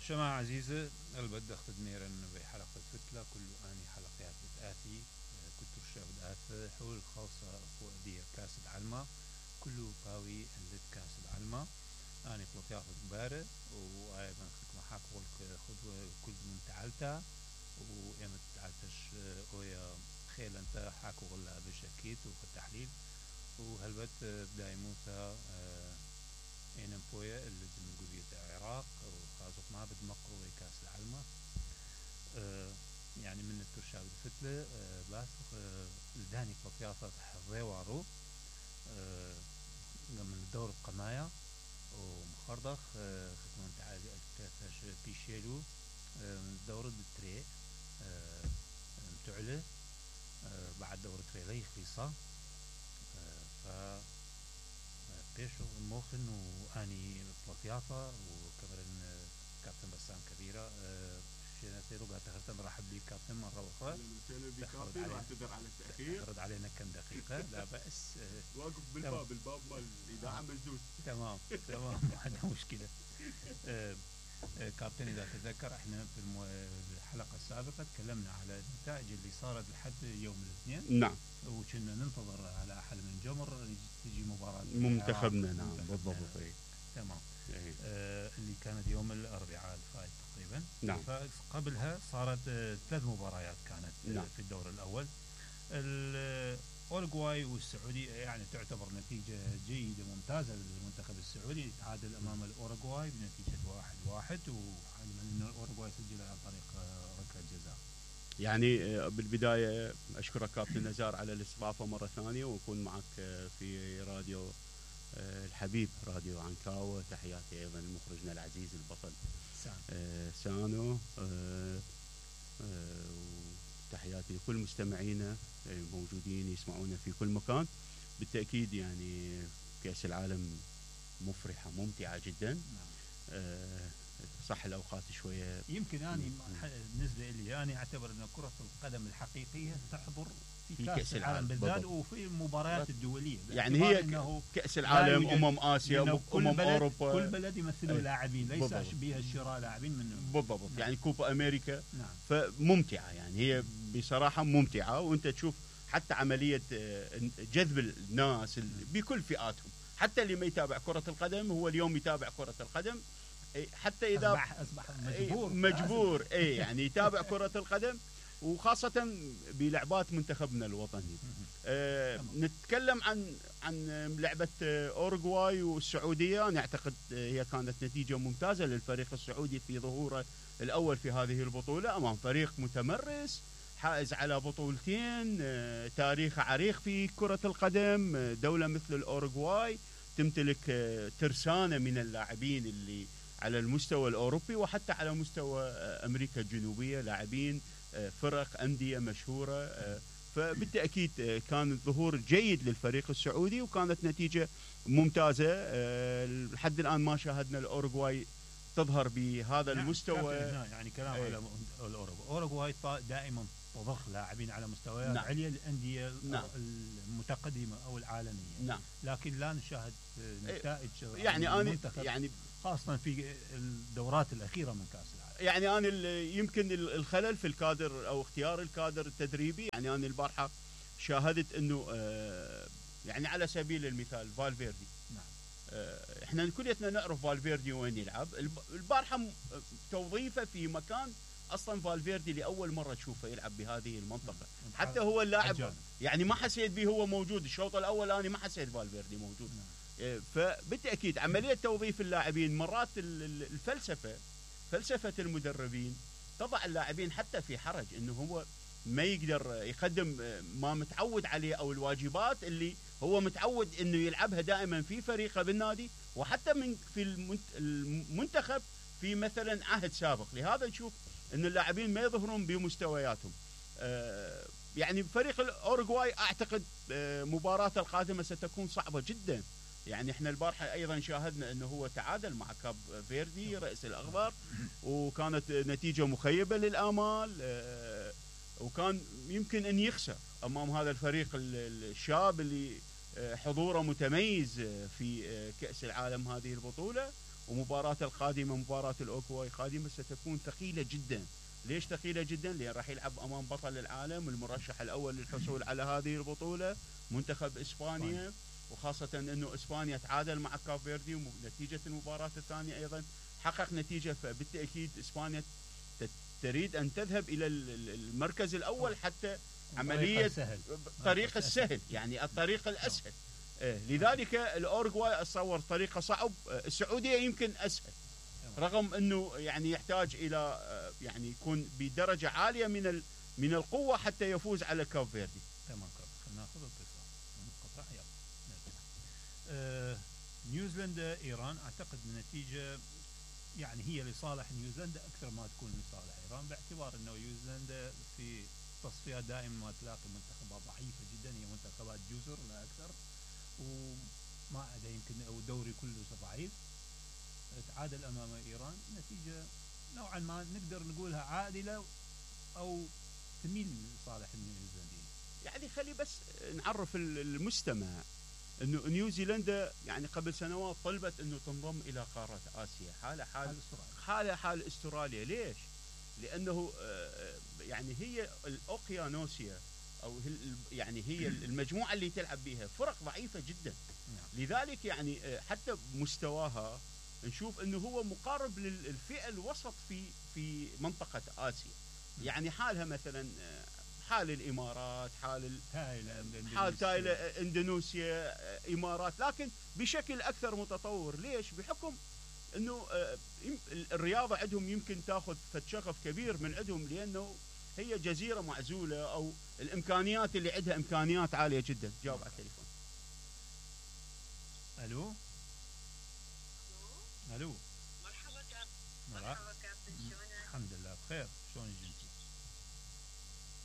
جماعة عزيزة البدخ تدميرا بحلقة فتلة كل آني حلقات بتآتي كتر الشاب حول خاصة فؤدية كاس العلمة كله باوي اللي كاس العلمة أنا بلطياف كبارة وأيضا خدمة حاكو خدوة كل من تعالتا وإيمت تعالتش ويا خيل أنت حاكو غلا بشكيت وتحليل وهلبت بداي موسى إنم بويا اللي من قبيلة العراق وخازق ما بدمقرو كاس العلمة يعني من الترشاب الفتلة باسق الداني بلطيافة حضيوارو من دور القماية ومخردخ ختمان تعالي أكتاش بيشيلو من دور التري متعلة بعد دور التري لي خليصة ف بيشو موخن واني بلطيافة وكبرن كابتن بسام كبيرة شناتيرو قاعد تخرتم رحب لي كابتن مرة أخرى واعتذر على التأخير تخرج علينا كم دقيقة لا بأس واقف بالباب مال الإذاعة مجدود تمام ما عندنا مشكلة كابتن إذا تذكر احنا في الحلقة السابقة تكلمنا على النتائج اللي صارت لحد يوم الاثنين نعم وكنا ننتظر على أحل من جمر تجي مباراة منتخبنا نعم بالضبط تمام اللي كانت يوم الأربعاء الفائت تقريبا نعم فقبلها صارت 3 مباريات كانت نعم. في الدور الأول الأورغواي والسعودي يعني تعتبر نتيجة جيدة ممتازة للمنتخب السعودي تعادل أمام الأورغواي بنتيجة 1-1 وعلما أن الأورغواي سجل عن طريق ركلة جزاء. يعني بالبداية أشكرك كابتن نزار على الاستضافة مرة ثانية وأكون معك في راديو الحبيب راديو عنكاوة. تحياتي أيضا لمخرجنا العزيز البطل سانو تحياتي لكل مستمعينا موجودين يسمعونا في كل مكان. بالتأكيد يعني كأس العالم مفرحة ممتعة جدا. صح الأوقات شوية يمكن أنا بالنسبة لي أنا أعتبر أن كرة القدم الحقيقية تحضر في كأس العالم بالذات وفي المباريات الدولية يعني هي كأس العالم آسيا أوروبا كل بلد يمثلوا لاعبين ليس بها شراء لاعبين منهم بالضبط. نعم. يعني كوبا أمريكا نعم. فممتعة يعني هي بصراحة ممتعة وأنت تشوف حتى عملية جذب الناس بكل فئاتهم حتى اللي ما يتابع كرة القدم هو اليوم يتابع كرة القدم حتى إذا أصبح مجبور يعني يتابع كرة القدم وخاصة بلعبات منتخبنا الوطني. نتكلم عن لعبة أورغواي والسعودية. أنا أعتقد هي كانت نتيجة ممتازة للفريق السعودي في ظهوره الأول في هذه البطولة أمام فريق متمرس حائز على بطولتين تاريخ عريق في كرة القدم. دولة مثل الأورغواي تمتلك ترسانة من اللاعبين اللي على المستوى الأوروبي وحتى على مستوى أمريكا الجنوبية لاعبين فرق أندية مشهورة. فبالتأكيد كان الظهور جيد للفريق السعودي وكانت نتيجة ممتازة. لحد الآن ما شاهدنا الأورغواي تظهر بهذا المستوى. يعني كلام على الأورغواي دائما تضخ لاعبين على مستويات عليا الأندية المتقدمة أو العالمية. لكن لا نشاهد نتائج يعني خاصة في الدورات الأخيرة من كأس العالم. يعني أنا يمكن الخلل في الكادر أو اختيار الكادر التدريبي. يعني أنا البارحة شاهدت أنه يعني على سبيل المثال فالفيردي. احنا كليتنا نعرف فالفيردي وين يلعب. البارحة توظيفه في مكان أصلا فالفيردي لأول مرة تشوفه يلعب بهذه المنطقة. حتى هو اللاعب يعني ما حسيت به هو موجود الشوط الأول. أنا ما حسيت فالفيردي موجود. فبالتأكيد عملية توظيف اللاعبين مرات فلسفة المدربين تضع اللاعبين حتى في حرج انه هو ما يقدر يقدم ما متعود عليه او الواجبات اللي هو متعود انه يلعبها دائما في فريقه بالنادي وحتى في المنتخب في مثلا عهد سابق. لهذا نشوف ان اللاعبين ما يظهرون بمستوياتهم. يعني فريق الأورغواي اعتقد مباراة القادمة ستكون صعبة جدا. يعني احنا البارحة ايضا شاهدنا انه هو تعادل مع كاب فيردي رئيس الاخضر وكانت نتيجة مخيبة للآمال وكان يمكن ان يخسر امام هذا الفريق الشاب اللي حضوره متميز في كأس العالم هذه البطولة. ومباراة القادمة مباراة الأوروغواي قادمة ستكون ثقيلة جدا. ليش ثقيلة جدا؟ لأن راح يلعب أمام بطل العالم المرشح الأول للحصول على هذه البطولة منتخب إسبانيا، وخاصة أنه إسبانيا تعادل مع كاب فيردي ونتيجة المباراة الثانية أيضا حقق نتيجة، فبالتأكيد إسبانيا تريد أن تذهب إلى المركز الأول حتى عملية الطريق السهل، يعني الطريق الأسهل. لذلك الأوروغواي أتصور طريقة صعب، السعودية يمكن أسهل رغم أنه يعني يحتاج إلى يعني يكون بدرجة عالية من القوة حتى يفوز على كاب فيردي. تمام، خلينا ناخذ اتصال منقطع. يلا نرجع. نيوزيلندا إيران، أعتقد النتيجة يعني هي لصالح نيوزيلندا أكثر ما تكون لصالح إيران، باعتبار أنه نيوزيلندا في تصفيات دائما ما تلاقي منتخبات ضعيفة جدا، هي منتخبات جزر لا أكثر، وما عدا يمكن أو الدوري كله ضعيف. تعادل أمام إيران، نتيجة نوعا ما نقدر نقولها عادلة أو تميل لصالح النيوزيلنديين. يعني خلي بس نعرف المستمع انه نيوزيلندا يعني قبل سنوات طلبت انه تنضم الى قاره اسيا، حال استراليا. ليش؟ لانه يعني هي الاوقيانوسيا او يعني هي المجموعه اللي تلعب بها فرق ضعيفه جدا. لذلك يعني حتى مستواها نشوف انه هو مقارب للفئه الوسط في منطقه اسيا. يعني حالها مثلا حال الامارات، حال تايلاند، اندونيسيا، امارات، لكن بشكل اكثر متطور. ليش؟ بحكم انه الرياضه عندهم يمكن تاخذ شغف كبير من عندهم، لانه هي جزيره معزوله، او الامكانيات اللي عندها امكانيات عاليه جدا. جاوب على التليفون. الو. مرحبا كابتن، شلونك؟ الحمد لله بخير، شلونك انت؟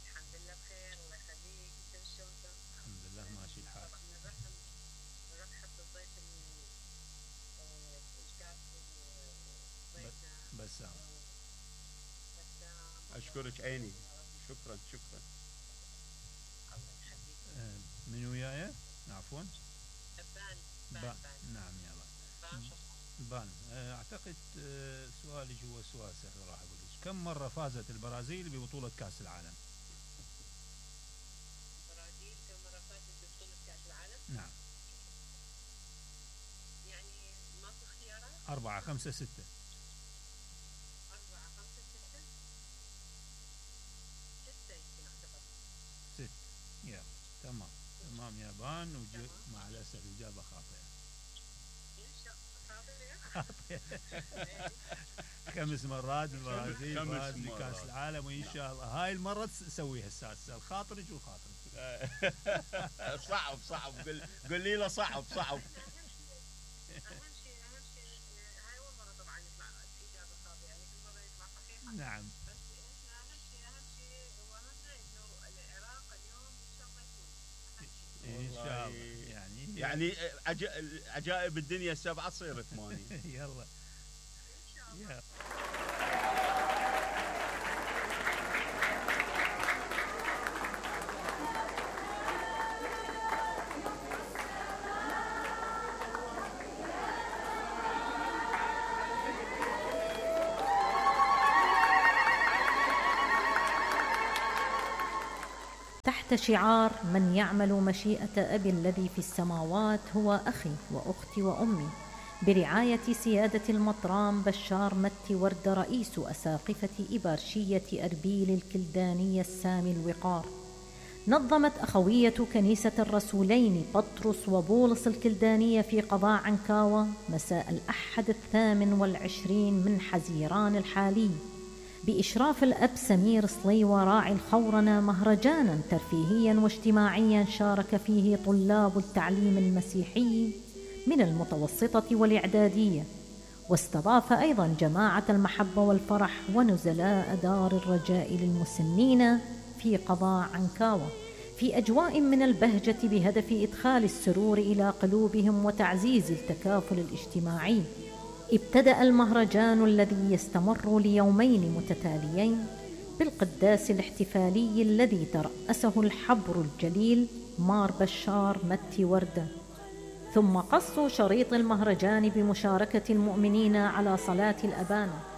الحمد لله بخير، الله يخليك. انت شلونك؟ الحمد لله ماشي الحال. نرحب بالضيف الكابتن ضيفنا بسام. اشكرك عيني، شكرا. الله يخليك. من وياي؟ عفوا. بان. نعم يلا. بان. اعتقد سؤالي هو سؤال سهل، راح اقول لك كم مره فازت البرازيل ببطوله كاس العالم؟ البرازيل كم مره فازت ببطوله كاس العالم؟ نعم. يعني ماكو اختيارات؟ 4 5 6. 4 5 6 6 يمكن اعتقد. 6. يلا تمام يا بان. مع الاسف اجابه خاطئه. خمس مرات البرازيل فاز بكاس العالم، وان شاء الله هاي المره تسويها السادسه. الخاطرج والخاطرج. صعب قل لي له صعب. اهم شيء هاي اول مره طبعا يطلع اجابه خاطئه، يعني كل مره يطلع صحيحه. نعم. بس اهم شيء وهمنا انه العراق اليوم ان شاء الله يكون ان شاء الله. يعني عجائب الدنيا 7 تصير 8. يلا ان شاء الله. تحت شعار من يعمل مشيئة أبي الذي في السماوات هو أخي وأختي وأمي، برعاية سيادة المطران بشار متي ورد رئيس أساقفة إبارشية أربيل الكلدانية السامي الوقار، نظمت أخوية كنيسة الرسولين بطرس وبولس الكلدانية في قضاء عنكاوة مساء الأحد 28 من حزيران الحالي بإشراف الأب سمير صليوة راعي الخورنة مهرجانا ترفيهيا واجتماعيا شارك فيه طلاب التعليم المسيحي من المتوسطة والإعدادية، واستضاف أيضا جماعة المحبة والفرح ونزلاء دار الرجاء للمسنين في قضاء عنكاوة في أجواء من البهجة بهدف إدخال السرور إلى قلوبهم وتعزيز التكافل الاجتماعي. ابتدأ المهرجان الذي يستمر ليومين متتاليين بالقداس الاحتفالي الذي ترأسه الحبر الجليل مار بشار متي وردة، ثم قصوا شريط المهرجان بمشاركة المؤمنين على صلاة الأبانة.